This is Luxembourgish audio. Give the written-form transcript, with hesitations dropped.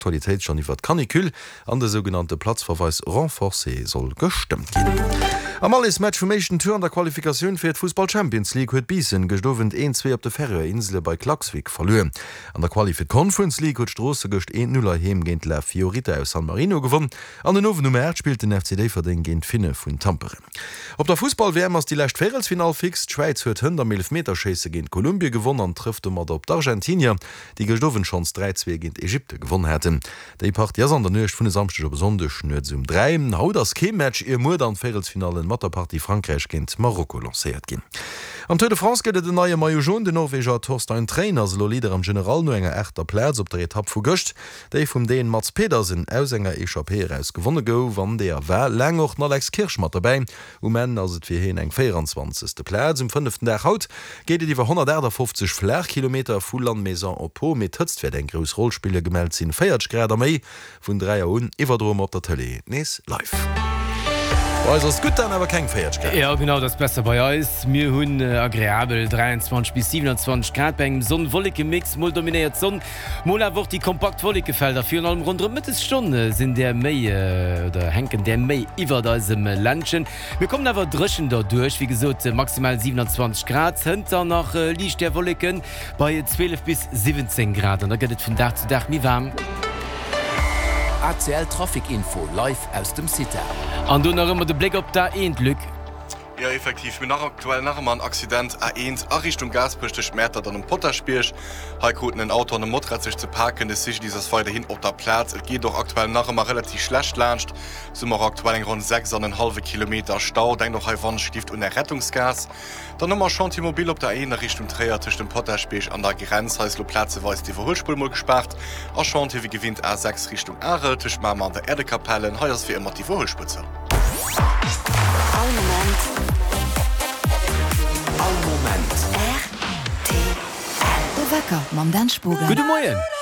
Aktualitéit schonn iwwert d'Canicule an de sougenannte Platzverweis renforcé soll gestëmmt ginn. Am Allesmatch vum éischten Tour an der Qualifikatioun fir d'Fussball-Champions League huet Biissen gëscht Owend 1, 2 op de Färöer Insele bei Klaksvik verluer. An der Quali fir d'Conference League huet Stroosse gëscht 1, 0 heiheem géint La Fiorita aus San Marino gewonn an den Owend um 8 spillt den FC Déifferdeng géint d'Finne vun Tampere. Op der Fussball-WM ass déi lescht Véierelsfinall fix. D'Schwäiz huet hënt am Eelefmeterschéisse géint Kolumbie gewonn an trëfft domadder op d'Argentinier, déi gëscht Owend schonns 3, 2 géint Ägypte gewonn haten. Déi Partie ass an der Nuecht vun e Samschdeg op e Sonndeg nuets um 3. Haut ass kee Match, ier muer dann d'Véierelsfinallen mat der Partie Frankräich géint Marokko lancéiert ginn. Am Tour de France gëtt et en neie Maillot Jaune. Den Norweger Torstein Træen ass elo Leader am General no enger aachter Plaz op der Etapp vu gëscht. déi vum Dän Mads Pedersen aus enger Echappée eraus gewonne gouf. An deeër war laang och den Alex Kirsch mat dobäi. Um Enn ass et fir hien eng 24. Plaz. Um fënneften Dag haut geet et iwwer 158 Flaachkilometer vu Lannemezan op Pau, mee d'Hëtzt wäert eng grouss Roll spillen. Gemellt sinn 40 Grad a méi. Vun 3 Auer un iwwerdroe mer op der Tëlee nees live. Bei eis ass et gutt, dann awer keng 40 Grad. Jo genau, dat ass besser bei eis. Mir hunn agreabel 23 bis 27 Grad bei engem Sonn-Wolleke-Mix. Mol dominéiert d'Sonn, Mol awer och déi kompakt Wollekefelder. Virun allem ronderëm d'Mëttesstonn sinn där méi oder hänken där méi iwwert eisem Ländchen. Mir kommen awer dréchen derduerch, wéi gesot maximal 27 Grad, hënter nach liicht där Wolleke bei 12 bis 17 Grad an da gëtt et vun Dag zu Dag méi waarm. ACL Trafic Info live aus dem CITA. An do nach ëmmer de Bléck op d'A1, Luc. Jo effektiv, mir hunn nach aktuell nach ëmmer en Accident A1 a Richtung Gaasperech tëscht Mäertert an dem Potaschbierg. Hei kruten en Auto an e Motorrad sech ze paken. De CGDIS ass weiderhin op der Plaz. Et geet och aktuell nach ëmmer relativ schlecht laanscht. Sou hu mer och aktuell eng ronn 6 an en hallwe Kilometer Stau. Denkt och hei wannschlift un är Rettungsgaass. Dann hu mer Chantier mobile op der A1 a Richtung Tréier tëscht dem Potaschbierg an der Grenz. Hei ass elo plazeweis d'Iwwerhuelspuer mol gespaart. A Chantier wéi gewinnt A6 Richtung Arel tëscht Mamer an der Erdekapellen. Hei ass wéi ëmmer d'Iwwerhuelspuer zou. All Moment. All Moment. Rtl. De Wecker mam Dan Spogen. Gudde Moien!